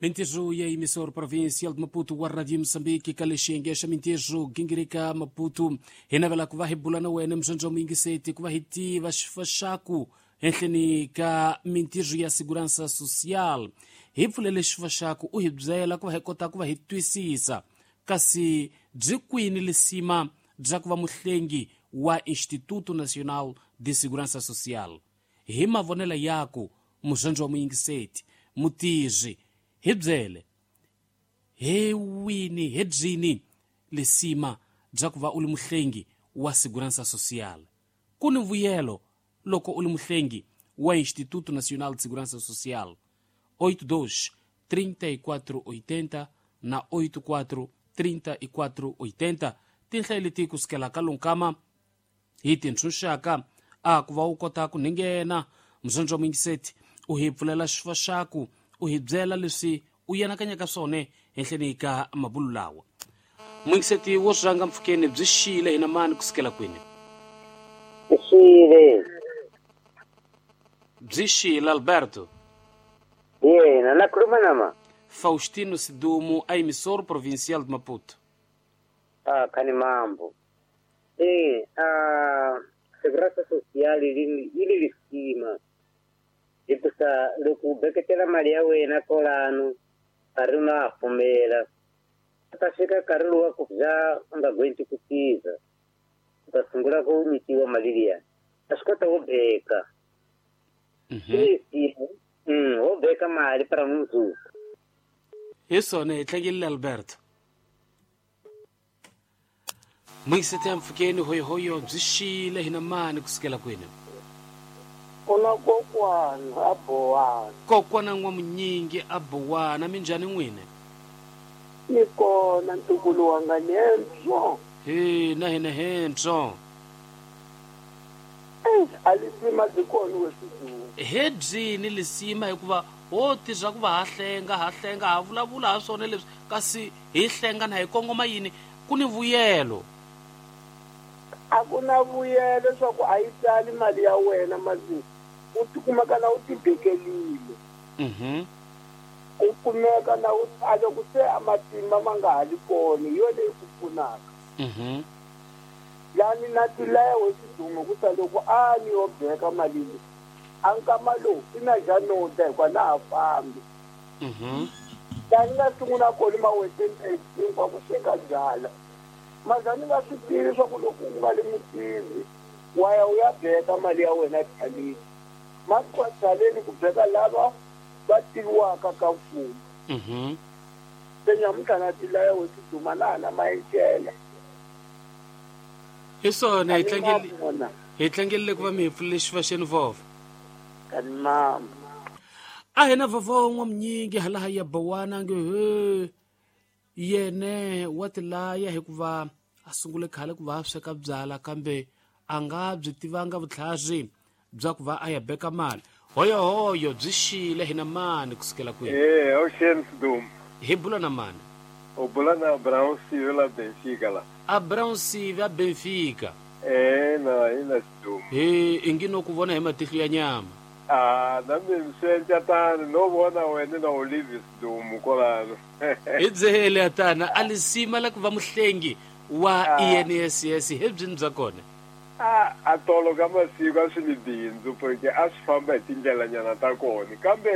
Mintirho ya emissor provincial de Maputo wa Radio Moçambique ka lexiyenge xa mintirho gingirika Maputo hi navela ku va hi bula na wena muzondzo muyingiseti ku va hi tiva xifaxaku henhleni ka mintirho ya segurança social hi pfulele xifaxaku u hi byela ku va hi kota ku va hi twisisa kasi byi kwini lisima bya ku va muhlengi wa Instituto Nacional de Segurança Social hi mavonelo yaku muzondzo wa muyingiseti mutizwi hi byele hi wini hi byini lisima bya ku va u li muhlengi wa segurança social ku ni vuyelo loko u li muhlengi wa Instituto Nacional de Segurança Social 82 34 80 na 84 34 80 tinhla leti kusukela ka lonkama hi tintshunxaka a ku va u kota ku ninghena muzondzo wa muyingiseti u hi pfulela xifaxaku u hi byela leswi u yanakanyaka swona henhleni ka mabulu lawa muyingiseti wo rhanga mpfhukeni byi xile hina mani kusukela kwini Xile. Byi xile Alberto. Yena na khuluma na ma. Faustino Sidumo a emissor provincial de Maputo. Ah, khani mambo. Segurança social ili lisima. Hikusa loko u beketela mali ya wena kolano nkarhi ma pfumela ta fika nkarhi lowu wa ku za u nga gwenti ku tiza u ta sungula ku nyikiwa mali liya a swi kota wo beka wo beka mali para mundzuku hi swona hi tlangelile Alberto muyingiseti ya mpfhukeni hoyohoyo byi xile hina mani kusukela kwini kuna kokwana a bowana kokwana n'wamunyingi a bowana minjhani n'wina ni kona ntukulu wanga nhentswo he na hina hentswo a lisima byi kona weswidumu he byini lisima hikuva ho ti swa ku va ha hlenga ha hlenga ha vulavula ha swona leswi kasi hi hlenga na hi kongoma yini ku ni vuyelo a ku na vuyelo swa ku a yi tsali mali ya wena masi u tikumeka na u tibekelile u kumeka na u a loko se a matimba ma nga ha li kona hi yona leyi ku pfunaka lani na tilaya wesidumo ku ta loko a ni yo beka mali leyi a nkama lowu i na ja nota hikuva na ha fambi lani nga sungula kona maweteni hinkwako sweka byala maza ni nga swi tivi swa ku loko u nga li mutivi wa ya u ya beka mali ya wena byaleni masi byaleni ku beka lava va tiviwaka ka mfumo se nyamuntlha na tilaya wesiduma na ha na mayencela hi swona hi tlangelile ku va mi hi pfulele xifaxeni vovho kani mama a hina vovho n'wamunyingi halaha ya bowana nge he yene wa tilaya hikuva a sungule khale ku va a sweka byala kambe a nga byi tivanga vutlhari bya ku va a ya beka mali hoyohoyo byi xile hina mani kusukela kwihi Ocean Sidum hi bula na mani u bula na Brown Sive la Benfica la a Brown Sive a Benfica na ina Sidum he ingi no ku vona hi matihlo ya nyama a na mina swi endla tano no vona wena na Olive Sidum kolano hi byele atana a lisima la ku va muhlengi wa INSS hi byini bya kona a tolo ka masiku a swi ni bindzu porque a swi famba hi tindlelanyana ta kona kambe